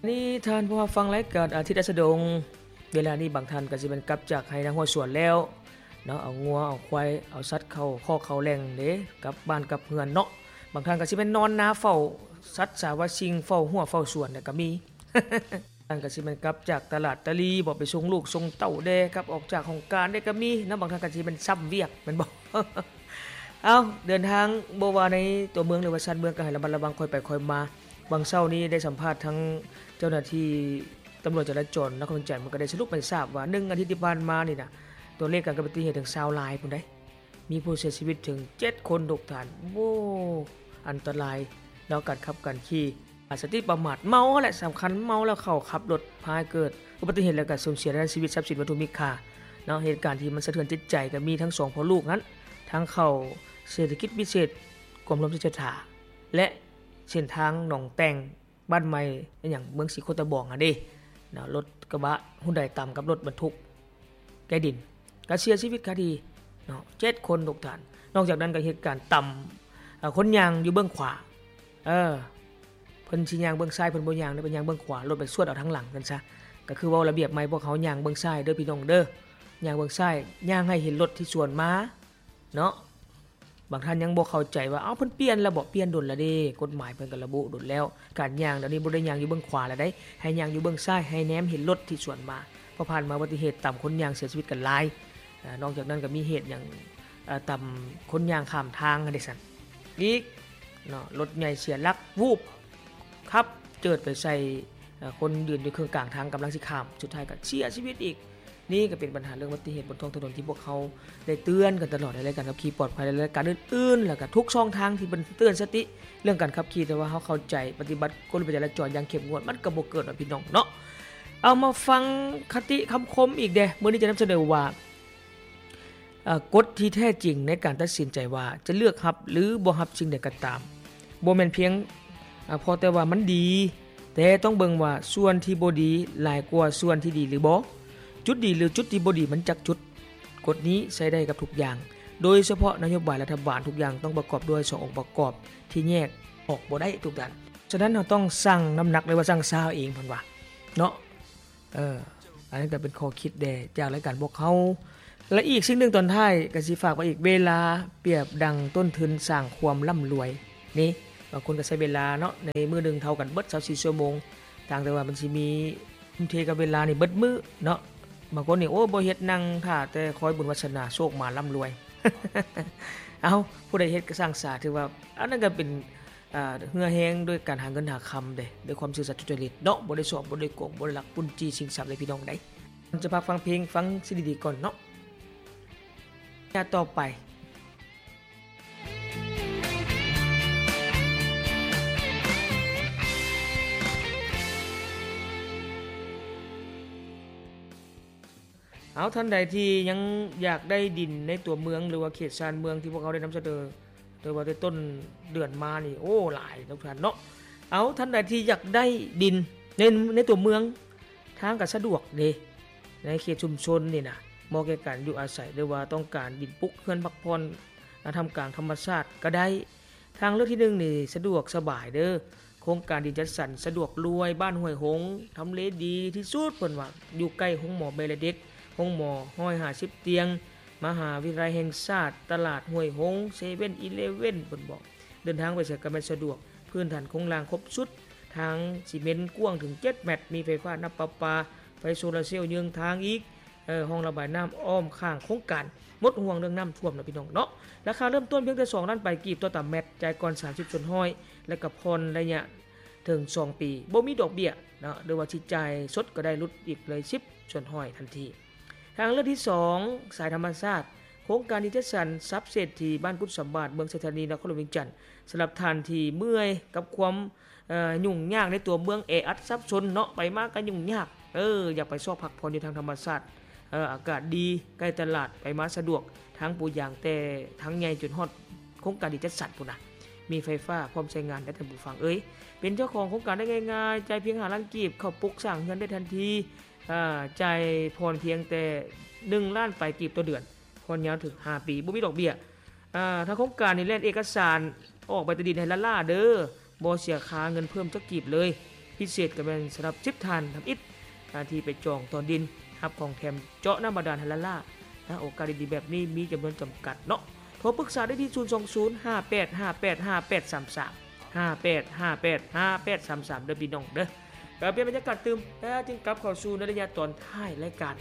ນີ້ທ່ານຜູ້ຮັບຟັງລາຍການອາທິດອັດສະດົງ, ເວລານີ້ບາງທ່ານກໍຊິແມ່ນກັບຈາກໄຮ່ນາຫົວສວນແລ້ວເນາະ, ເອົາງົວເອົາຄວາຍເອົາສັດເຂົ້າຄອກເຂົ້າແຫຼ່ງເດ້, ກັບບ້ານກັບເຮືອນເນາະ. ບາງທ່ານກໍຊິແມ່ນນອນນາເຝົ້າສັດສາວາສິ່ງ, ເຝົ້າຮົ້ວເຝົ້າສວນແລ້ວກໍມີ. ທ່ານກໍຊິແມ່ນກັບຈາກຕະຫຼາດຕະຫຼີບໍ, ໄປສົ່ງລູກສົ່ງເຕົ້າແດ່, ກັບອອກຈາກຫ້ອງການແດ່ກໍມີເນາະ. ບາງທ່ານກໍຊິແມ່ນຊ້ຳວຽກແມ່ນບໍ່? ເອົ້າ ເດີນທາງບໍ່ວ່າໃນຕົວເມືອງ ຫຼືວ່າຊານເມືອງ ກໍໃຫ້ລະມັດລະວັງ, ຄ່ອຍໄປຄ່ອຍມາ. ຫວ່າງເຊົ້ານີ້ໄດ້ສຳພາດທັງເຈົ້າໜ້າທີ່ຕຳຫຼວດຈະລາຈອນນະຄອນຫຼວງວຽງຈັນ, ເພິ່ນກໍໄດ້ສະຫຼຸບໃຫ້ຊາບວ່າ ໜຶ່ງອາທິດທີ່ຜ່ານມານີ້ນະ ຕົວເລກການເກີດອຸບັດຕິເຫດເຖິງຊາວລາຍພຸ້ນໃດ໋, ມີຜູ້ເສຍຊີວິດເຖິງເຈັດຄົນທຸກທ່ານ. ໂອ້ ອັນຕະລາຍເນາະ ການຂັບການຂີ່. ອາ ສະຕິປະໝາດ, ເມົາຫັ້ນແຫຼະສຳຄັນ, ເມົາແລ້ວເຂົ້າຂັບລົດ ພາໃຫ້ເກີດອຸບັດຕິເຫດ ແລ້ວກໍສູນເສຍທາງດ້ານຊີວິດ, ຊັບສິນ, ວັດຖຸມີຄ່າເນາະ. ເຫດການທີ່ມັນສະເທືອນຈິດໃຈກໍມີທັງສອງພໍ່ລູກຫັ້ນ, ທາງເຂົ້າເສດຖະກິດພິເສດ ກວມລວມເສດຖາ ແລະ ເສັ້ນທາງໜອງແຕ່ງ ບ້ານໃໝ່ ອີຫຍັງ ເມືອງສີໂຄດຕະບອງຫັ້ນເດ້ເນາະ, ລົດກະບະຮຸນໄດຕຳກັບລົດບັນທຸກແກ່ດິນ ກໍເສຍຊີວິດຄາທີ່ເນາະ ເຈັດຄົນທຸກທ່ານ. ນອກຈາກນັ້ນກໍເຫດການຕຳ ເອີ ຄົນຍ່າງຢູ່ເບື້ອງຂວາ, ເອີ ເພິ່ນຊິຍ່າງເບື້ອງຊ້າຍ ເພິ່ນບໍ່ຍ່າງເດ້, ເພິ່ນຍ່າງເບື້ອງຂວາ, ລົດໄປຊວດເອົາທາງຫຼັງຊັ້ນຊະ. ກໍຄືເວົ້າລະບຽບໃໝ່ ພວກເຮົາຍ່າງເບື້ອງຊ້າຍເດີພີ່ນ້ອງເດີ, ຍ່າງເບື້ອງຊ້າຍ, ຍ່າງໃຫ້ເຫັນລົດທີ່ສວນມາເນາະ. ບາງທ່ານຍັງບໍ່ເຂົ້າໃຈວ່າ ເອົ້າ ເພິ່ນປ່ຽນແລ້ວບໍ? ປ່ຽນດົນແລ້ວເດ້, ກົດໝາຍເພິ່ນກໍລະບຸດົນແລ້ວ. ການຍ່າງດຽວນີ້ບໍ່ໄດ້ຍ່າງຢູ່ເບື້ອງຂວາແລ້ວໃດ໋, ໃຫ້ຍ່າງຢູ່ເບື້ອງຊ້າຍ, ໃຫ້ແນມເຫັນລົດທີ່ສວນມາ. ເພາະຜ່ານມາອຸບັດຕິເຫດຕຳຄົນຍ່າງເສຍຊີວິດກັນຫຼາຍ. ເອີ ນອກຈາກນັ້ນກໍມີເຫດຫຍັງ ເອີ ຕຳຄົນຍ່າງຂ້າມທາງຫັ້ນເດ້ຊັ້ນອີກເນາະ, ລົດໃຫຍ່ເສຍຫຼັກ ວູບ ຂັບເຈີດໄປໃສ່ ເອີ ຄົນຢືນຢູ່ເຄິ່ງກາງທາງກຳລັງຊິຂ້າມ, ສຸດທ້າຍກໍເສຍຊີວິດອີກ. ນີ້ກໍເປັນບັນຫາເລື່ອງອຸບັດຕິເຫດບົນທ້ອງຖະໜົນທີ່ພວກເຮົາໄດ້ເຕືອນກັນຕະຫຼອດໃນລາຍການຂັບຂີ່ປອດໄພ ແລະ ລາຍການອື່ນໆ ແລ້ວກໍທຸກຊ່ອງທາງທີ່ເພິ່ນເຕືອນສະຕິເລື່ອງການຂັບຂີ່, ແຕ່ວ່າເຮົາເຂົ້າໃຈປະຕິບັດກົດລະບຽບຈະລາຈອນຢ່າງເຂັ້ມງວດ ມັນກໍບໍ່ເກີດເນາະ ພີ່ນ້ອງເນາະ. ເອົາມາຟັງຄະຕິຄຳຄົມອີກແດ່, ມື້ນີ້ຈະນຳສະເໜີວ່າ ເອີ ກົດທີ່ແທ້ຈິງໃນການຕັດສິນໃຈວ່າຈະເລືອກຮັບ ຫຼື ບໍ່ຮັບສິ່ງໃດກໍຕາມ ບໍ່ແມ່ນພຽງ ອາ ເພາະແຕ່ວ່າມັນດີ, ແຕ່ຕ້ອງເບິ່ງວ່າສ່ວນທີ່ບໍ່ດີຫຼາຍກວ່າສ່ວນທີ່ດີຫຼືບໍ່, ຈຸດດີ ຫຼື ຈຸດທີ່ບໍ່ດີມັນຈັກຈຸດ. ກົດນີ້ໃຊ້ໄດ້ກັບທຸກຢ່າງ, ໂດຍສະເພາະນະໂຍບາຍລັດຖະບານ, ທຸກຢ່າງຕ້ອງປະກອບດ້ວຍສອງອົງປະກອບທີ່ແຍກອອກບໍ່ໄດ້ທຸກດ້ານ. ສະນັ້ນ ເຮົາຕ້ອງຊັ່ງນ້ຳໜັກ ຫຼືວ່າຊັ່ງຊາເອົາເອງ ເພິ່ນວ່າເນາະ. ເອີ ອັນນັ້ນກໍເປັນຂໍ້ຄິດແດ່ຈາກລາຍການພວກເຮົາ. ແລະ ອີກສິ່ງໜຶ່ງຕອນທ້າຍກໍຊິຝາກໄວ້ອີກ, ເວລາປຽບດັ່ງຕົ້ນທຶນສ້າງຄວາມລ່ຳລວຍ. ນີ້ ບາງຄົນກໍໃຊ້ເວລາເນາະ ໃນມື້ໜຶ່ງເທົ່າກັນເບິດຊາວສີ່ຊົ່ວໂມງ, ຕ່າງແຕ່ວ່າມັນຊິມີ ທຸ່ມເທກັບເວລານີ້ເບິດມື້ເນາະ. ບາງຄົນນີ້ ໂອ້ ບໍ່ເຮັດ ນັ່ງຖ້າແຕ່ຄອຍບຸນວາສະໜາ ໂຊກມາ ລ່ຳລວຍ. ເອົ້າ ຜູ້ໃດເຮັດກໍຊ່າງສາ, ຖືວ່າອັນນັ້ນກໍເປັນ ອ່າ ເຫື່ອແຮງດ້ວຍການຫາເງິນຫາຄຳເດ້, ດ້ວຍຄວາມຊື່ສັດສຸຈະລິດເນາະ, ບໍ່ໄດ້ຊອກ ບໍ່ໄດ້ໂກງ ບໍ່ໄດ້ລັກປຸ້ນຈີ້ຊິງຊັບເດ້ ພີ່ນ້ອງເດ້. ຈະພັກຟັງເພງ ຟັງສິ່ງດີໆກ່ອນເນາະ. ຍາດຕໍ່ໄປ ເອົາ ທ່ານໃດທີ່ຍັງຢາກໄດ້ດິນໃນຕົວເມືອງ ຫຼືວ່າເຂດຊານເມືອງ ທີ່ພວກເຮົາໄດ້ນຳສະເໜີ ແຕ່ວ່າແຕ່ຕົ້ນເດືອນມານີ້ ໂອ້ ຫຼາຍທຸກທ່ານເນາະ. ເອົາ ທ່ານໃດທີ່ຢາກໄດ້ດິນໃນ ໃນຕົວເມືອງ ທາງກໍສະດວກເດ້ ໃນເຂດຊຸມຊົນນີ້ນະ ເໝາະແກ່ການຢູ່ອາໄສ ຫຼືວ່າຕ້ອງການດິນປຸກເຮືອນພັກຜ່ອນ ນະ ທ່າມກາງທຳມະຊາດກໍໄດ້. ທາງເລືອກທີໜຶ່ງນີ້ສະດວກສະບາຍເດີ ໂຄງການດິນຈັດສັນສະດວກລວຍ ບ້ານຫ້ວຍຫົງ ທຳເລດີທີ່ສຸດ ເພິ່ນວ່າ ຢູ່ໃກ້ໂຮງໝໍແມ່ ແລະ ເດັກ, ໂຮງໝໍ ຮ້ອຍຫ້າສິບຕຽງ, ມະຫາວິທະຍາໄລແຫ່ງຊາດ, ຕະຫຼາດຫ້ວຍຫົງ, ເຊເວັນອີເລເວັນ ເພິ່ນບອກ. ເດີນທາງໄປໃສກໍແມ່ນສະດວກ, ພື້ນຖານໂຄງລ່າງຄົບຊຸດ, ທາງຊີເມັນກວ້າງເຖິງເຈັດແມັດ, ມີໄຟຟ້າ, ນ້ຳປະປາ, ໄຟໂຊລາເຊວເຍືອງທາງອີກ, ເອີ ຮ່ອງລະບາຍນ້ຳອ້ອມຂ້າງໂຄງການ, ໝົດຫ່ວງເລື່ອງນ້ຳຖ້ວມແລ້ວ ພີ່ນ້ອງເນາະ. ລາຄາເລີ່ມຕົ້ນພຽງແຕ່ສອງລ້ານປາຍກີບຕໍ່ຕາແມັດ, ຈ່າຍກ່ອນສາມສິບສ່ວນຮ້ອຍ ແລະ ກໍຜ່ອນໄລຍະເຖິງສອງປີ, ບໍ່ມີດອກເບ້ຍເນາະ, ຫຼືວ່າຊິຈ່າຍສົດກໍໄດ້, ຫຼຸດອີກເລີຍສິບສ່ວນຮ້ອຍທັນທີ. ທາງເລືອກທີສອງ ສາຍທຳມະຊາດ, ໂຄງການທີ່ຈັດສັນຊັບເສດຖີບ້ານກຸດສຳບາດ ເມືອງໄຊທານີ ນະຄອນຫຼວງວຽງຈັນ. ສຳລັບທ່ານທີ່ເມື່ອຍກັບຄວາມ ເອີ ຫຍຸ້ງຍາກໃນຕົວເມືອງແອອັດສັບສົນເນາະ, ໄປມາກໍຫຍຸ້ງຍາກ, ເອີ ຢາກໄປຊອກພັກຜ່ອນຢູ່ທາງທຳມະຊາດ, ເອີ ອາກາດດີ, ໃກ້ຕະຫຼາດ, ໄປມາສະດວກ, ທາງປູຢາງແຕ່ທາງໃຫຍ່ຈົນຮອດໂຄງການທີ່ຈັດສັນພຸ້ນນະ, ມີໄຟຟ້າ ພ້ອມໃຊ້ງານໄດ້. ທ່ານຜູ້ຟັງເອີຍ, ເປັນເຈົ້າຂອງໂຄງການໄດ້ງ່າຍໆ, ຈ່າຍພຽງຫ້າລ້ານກີບ, ເຂົ້າປຸກສ້າງເຮືອນໄດ້ທັນທີ, ອາ ຈ່າຍຜ່ອນພຽງແຕ່ໜຶ່ງລ້ານປາຍກີບຕໍ່ເດືອນ, ຜ່ອນຍາວເຖິງຫ້າປີ, ບໍ່ມີດອກເບ້ຍ. ອາ ທາງໂຄງການນີ້ແລ່ນເອກະສານອອກໃບຕາດິນໃຫ້ລ້າໆເດີ, ບໍ່ເສຍຄ່າເງິນເພີ່ມຈັກກີບເລີຍ. ພິເສດກໍແມ່ນສຳລັບສິບທ່ານທຳອິດ ອາ ທີ່ໄປຈອງຕໍ່ດິນຮັບຂອງແຖມເຈາະນ້ຳບາດານໃຫ້ລ້ານລ້ານະ. ໂອກາດດີໆແບບນີ້ມີຈຳນວນຈຳກັດເນາະ. ໂທປຶກສາໄດ້ທີ່ ສູນສອງສູນ ຫ້າແປດຫ້າແປດ ຫ້າແປດສາມສາມ ຫ້າແປດຫ້າແປດ ຫ້າແປດສາມສາມ ເດີພີ່ນ້ອງເດີ. ກໍປ່ຽນບັນຍາກາດຕື່ມ ແລ້ວຈຶ່ງກັບເຂົ້າສູ່ໃນໄລຍະຕອນທ້າຍລາຍການ.